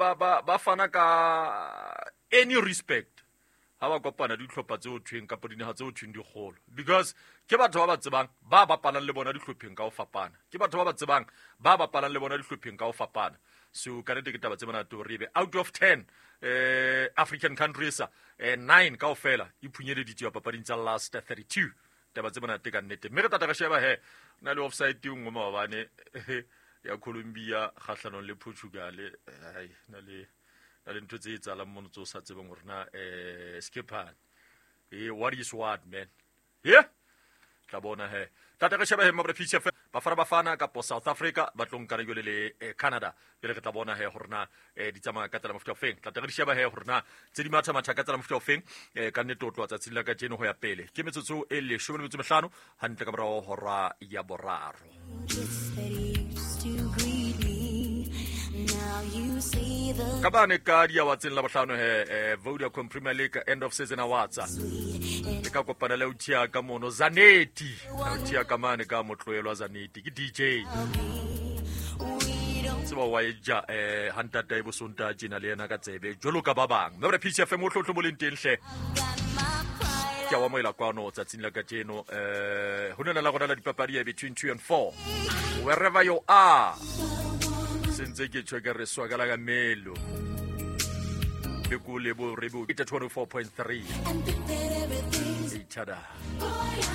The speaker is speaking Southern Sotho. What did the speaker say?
ba ba ba fana ka any respect ha ba kopana dihlopha tse ho thweng kapa dinaha tse ho thweng di kgolo, because ke batho ba ba tsebang ba bapalang le bona dihlopheng ka ho fapana, ke batho ba ba tsebang ba bapalang le bona dihlopheng ka ho fapana. So ka nnete ke taba tse monate hore ebe out of 10 African countries, 9 kaofela e phunyeleditswe papading tsa last 32. Taba tse monate ka nnete, mme re tata re sheba he na le offside e nngwe maobane ya Colombia kgahlanong le Portugal. Ai, na le ntho tse etsahalang mono tse o sa tsebeng hore na skipane what is what, man. Yeah, tla bona he tata re sheba he mabra PCF, Bafana Bafana kapo South Africa ba tlo nkana jwale le Canada. Jwale re tla bona he hore na di tsamaya ka tsela mofuta ofeng. Tla re di sheba he hore na tse di matha-matha ka tsela mofuta ofeng. Ka nnete o tloha tsatsing la kajeno ho ya pele ke metsotso e 15 hantle ka morao hora ya 3. Just that used to greet me. Now you see the Ka bane ka diawatseng la bohlano he Vodacom Premier League end of season awards le ka kopana le autia ka mono Zaneti, autia ka mane ka motloelwa Zaneti ke DJ tseba wa e ja hantata e bosonta tjena le yena ka tsebe jwalo ka ba bang, mme re PCFM o hlotlo mo leng teng hle. Ke a o amohela kwano tsatsing la kajeno ho nena la rona la dipapadi ya between 2 and 4, wherever you are. Sentse ke tjho ke re swakala ka melo le ko le bo re bo 24.3 and think that everything's each other. going